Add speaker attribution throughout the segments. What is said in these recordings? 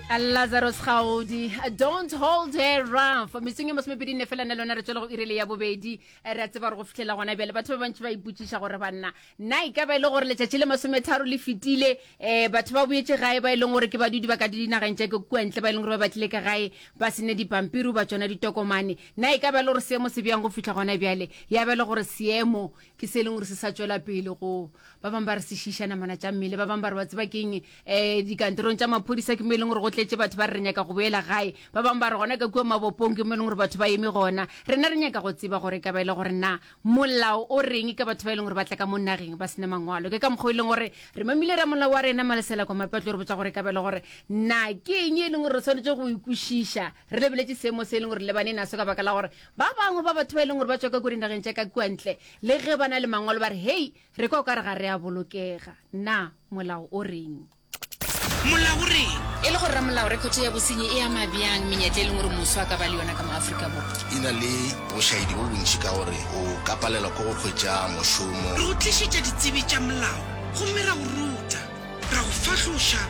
Speaker 1: Lazarus Gaudi, don't hold her rough. Metsong e masomepedi nne fela nna le yona re tswela go irele ya bobedi. Eh, Re a tseba gore go fihlela gona bjale batho ba bantši ba ipotšiša gore banna na e ka ba e le gore letšatši le masometharo le fetile um batho ba boetše gae ba e leng gore ke badudi ba ka dinageng tša ke kua ntle ba e leng gore ba batlile ka gae ba se ne dipampiri ba tsona ditokomane na e ka ba e le gore seemo se bjang go fihla gona bjale ya ba e le gore seemo ke se e leng gore se sa tšwela pele go ba bangwe ba re se šiša namana tša mmele ba bangwe ba re wa tseba keng um dikantorong tša maphodisa ke mo e leng gore go tletše batho ba re re nyaka go boela gae ba bangwe ba re gona ka kua mabopong ke mo e leng gore batho ba eme gona rena re nyaka go tseba gore e ka ba e le gore na molao o reng ka batho ba e leng gore ba tla ka mo nageng ba sena mangwalo ke ka mokgwa e leng gore re mamile ramolao wa rena malesela kwa mapetlo re botsa gore e ka ba e le gore na ke eng e leng gore re tshwanetse go ikwešiša re lebeletše seemo se e leng gore lebane naso ka baka la gore ba bangwe ba batho ba e leng gore ba tswa ka ko dinageng tša ka kua ntle le ge ba na le mangwalo ba re hei re kwa o ka re ga re a bolokega na molao o reng
Speaker 2: Molao o reng?
Speaker 1: E le gore ramolao rekhoto ya bosenyi e ama bjang menyetla e leng gore moswa a ka ba le yona ka mo Afrika Borwa?
Speaker 3: E na le bošaedi bo bontši ka gore o ka palelwa ke go hwetša mošomo.
Speaker 2: Re go tlišetša ditsebi tša molao gomme ra go ruta, ra go fahloša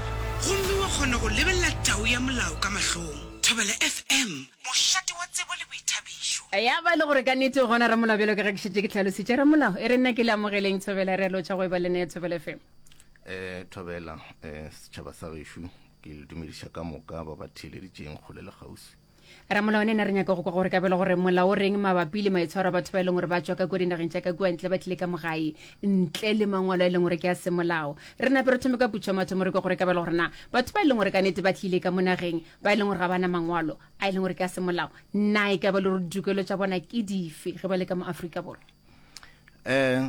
Speaker 2: gomme wa kgona go lebelela tau ya molao ka mahlong. Thobela FM, mošate wa tsebo le boithabišo.
Speaker 1: Ya ba e le gore ka nnete o gona ramolao bjalo ka ge ke šetše ke hlalositše. Ramolao, e re nna ke le amogeleng Thobela, re a lotšha go eba le nna ya Thobela FM.
Speaker 3: Eh, Thobela, eh, setšhaba sa gešo, ke le dumediša ka moka ba ba theeleditšeng kgole le kgauswi.
Speaker 1: Ramolao ne re nyaka go kwa gore kabelo gore molao o reng mabapi le maitshwaro a batho ba e leng gore ba tšwa ka kua dinageng tša ka kua ntle ba tlile ka mogae ntle le mangwalo a e leng gore ke a semolao. Re nape re thome ka putšo ya mathomo re kwa gore kabelo gore na batho ba e leng gore ka nete ba tlile ka mo nageng ba e leng gore ga ba na mangwalo a e leng gore ke a semolao na e ka ba le gore ditokelo tša bona ke dife ge ba le ka mo Afrika Borwa?
Speaker 3: Eh,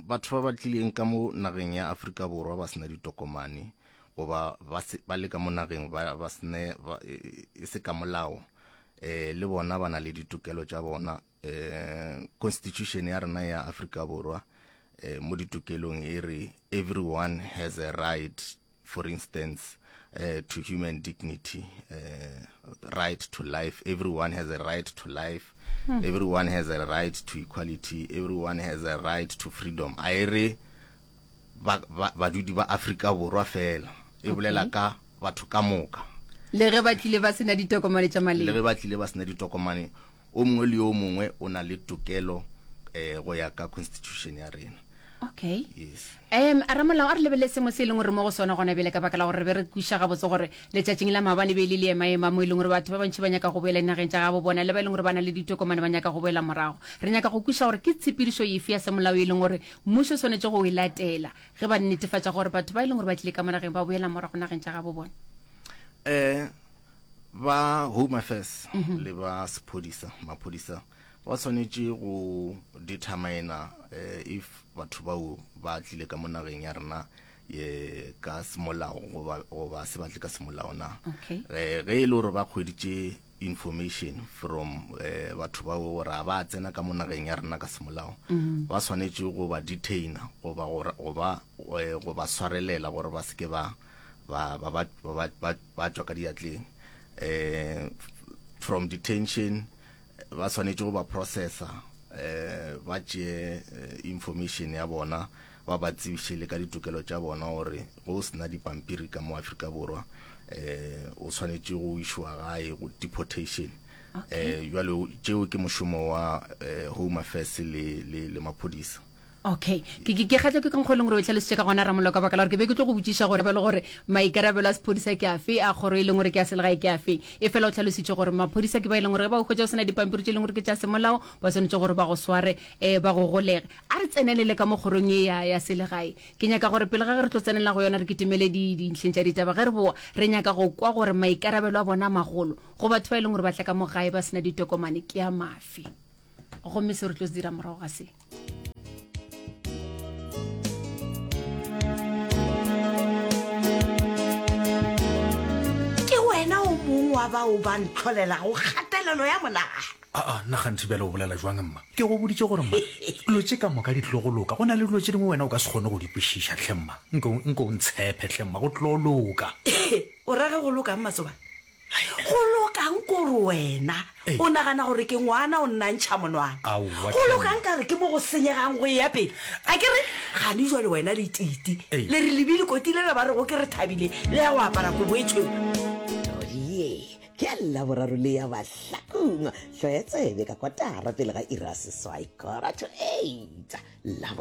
Speaker 3: batho ba ba tlileng ka mo nageng ya Afrika Borwa ba sena ditokomane goba ba se ba le ka mo nageng ba ba sene ba, e, e se ka molao eh le bona ba na le ditokelo tša bona eh constitution ya rena ya Afrika Borwa eh mo ditokelong e re everyone has a right for instance uh, to human dignity uh, right to life everyone has a right to life hmm. everyone has a right to equality everyone has a right to freedom a e re badudi ba Afrika Borwa fela e bolela ka batho ka moka
Speaker 1: le ge ba tlile ba sena ditokomane tša maleba
Speaker 3: le ge ba tlile ba sena ditokomane o mongwe le yo mongwe o na le tokelo eh go ya ka constitution ya rena
Speaker 1: okay
Speaker 3: yes
Speaker 1: um ramolao a re lebelele sengwe se e leng gore mo go sona gona bjale ka baka la gore re be re kwiša gabotse gore letšatšing la maabane be e le leemaema mo e leng gore batho ba bantši ba nyaka go boela dinageng tša gabo bona le ba e leng gore ba na le ditokomane ba nyaka go boela morago re nyaka go kwiša gore ke tshepedišo efe ya semolao e leng gore mmušo o swanetše go e latela ge ba netefatša gore batho ba e leng gore ba tlile ka mo nageng ba boela morago nageng tša gabo bona
Speaker 3: um ba home affairs mm -hmm. le ba sephodisa maphodisa ba swanetše go determina eh, if batho bao ba tlile ka mo nageng ya rena ye ka semolao goba goba se batle ka semolao na
Speaker 1: okay.
Speaker 3: eh, ge e le gore ba kgweditše information from eh, batho bao gore a ba tsena ka mo nageng ya rena ka semolao mm -hmm. ba swanetše go ba detaina goba goba eh, go ba swarelela gore ba se ke ba ba ba ba ba ba ba tšwa ka diatleng eh from detention ba swanetše go ba processa eh ba tšee eh, information ya bona ba ba tsebiše le ka ditokelo tša bona gore go o sena dipampiri ka mo Afrika Borwa eh o swanetše go išwa gae go deportation eh jwale tšeo ke mošomo wa eh, Home Affairs le le le maphodisa
Speaker 1: Okay. Ke ke ke kgatlwa ke ka mokgwa e leng gore o tlhalositše ka gona Ramolao ka baka la gore ke be ke tlo go botšiša gore ba le gore maikarabelo a sephodisa ke afe a kgoro e leng gore ke ya selegae ke afe. E fela o tlhalositše gore maphodisa ke ba e leng gore ge ba o hwetša o sena dipampiri tše e leng gore ke tša semolao ba swanetše gore ba go sware um ba go golege. A re tsenelele ka mo kgorong ye ya ya selegae. Ke nyaka gore pele ga ge re tlo tsenela go yona re kitimele di dintlheng tša ditaba ge re boa re nyaka go kwa gore maikarabelo a bona a magolo go batho ba e leng gore ba tla ka mo gae ba sena ditokomane ke a mafe. Gomme se re tlo se dira morago ga se.
Speaker 4: Ke wena o mongwe wa bao ba ntlholelago kgatelelo ya monagano.
Speaker 5: Aa, nna gantši bjale o bolela jwang mma? Ke go boditše gore mma, dilo tše ka moka di tlo go loka. Go na le dilo tše dingwe wena o ka se kgone go di kwešiša hle mma. Nke, nke o ntshepe hle mma, go tlo loka.
Speaker 4: O ra ge go lokang Matsobane? Go lokang kore wena o nagana gore ke ngwana o nna ntšha monwana.
Speaker 5: Aowa,
Speaker 4: Go lokang ka re ke mo go senyegang go eya pele. A ke re gane jwale wena le Titi le re lebile koti lela ba rego ke re thabile le ya go apara kobo e tšhweu.
Speaker 6: Todie ke ya Laboraro le ya Mahlakung, hloya tsebe ka kotara pele ga iri ya seswai, quarter to eight, Laboraro.